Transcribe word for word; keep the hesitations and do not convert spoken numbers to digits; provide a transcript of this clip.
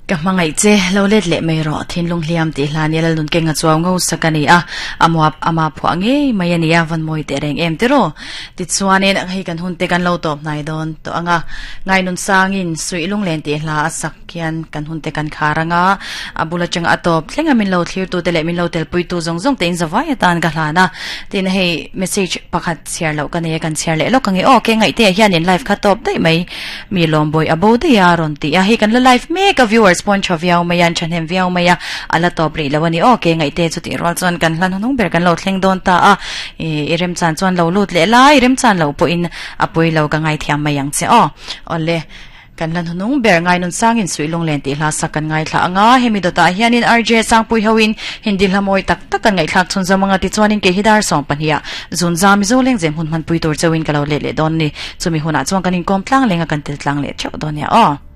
Ka hmangaih che lo let leh mai rawh thinlung hliam tih hla nia lal nun kenga chuau ngo sak ani a amua ama phuah ngei mai ani a van mawi teh reng em tiraw tichuanin hei kan hun te kan lo tawp hnai dawn tawh anga ngai nun sangin suih lunglen tih hla a sak hian kan hun te kan khar anga a bul atanga a tawp thleng a min lo thlir tu te leh min lo tel pui tu zawng zawng te in zavai atan ka hlan a tin hei message pakhat chhiar loh ka nei a kan chhiar leh lawk ange aw ke ngaih te ah hian in live kha tawp daih mai mi lawm bawi a bo daih a rawn ti a hei kan la live mek a viewers pawn tha viau mai a an thahnem viau mai a a la tawp rih lo a ni aw ke ngaih te chutih rual chuan kan hlan hnung ber kan lo thleng dawn ta a ih i remchan chuan lo lut leh lai remchan loh pawhin a pui lo ka ngaithiam mai ang che aw awle kan hlan hnung ber ngai nun sangin suih lunglen tih hla sak kan ngaithla anga hemi dawtah hianin R J Sangpui hoin Hindi hla mawi tak tak kan ngaihthlak chhun zawm anga tichuanin kei hi dar sawm pahnih ah zun za Mizo lengzem hun hmanpui tur chauhin ka lo let leh dawn a ni chumi hunah chuan kan inkawm tlang leng a kan tel tlang leh theuh dawn nia aw.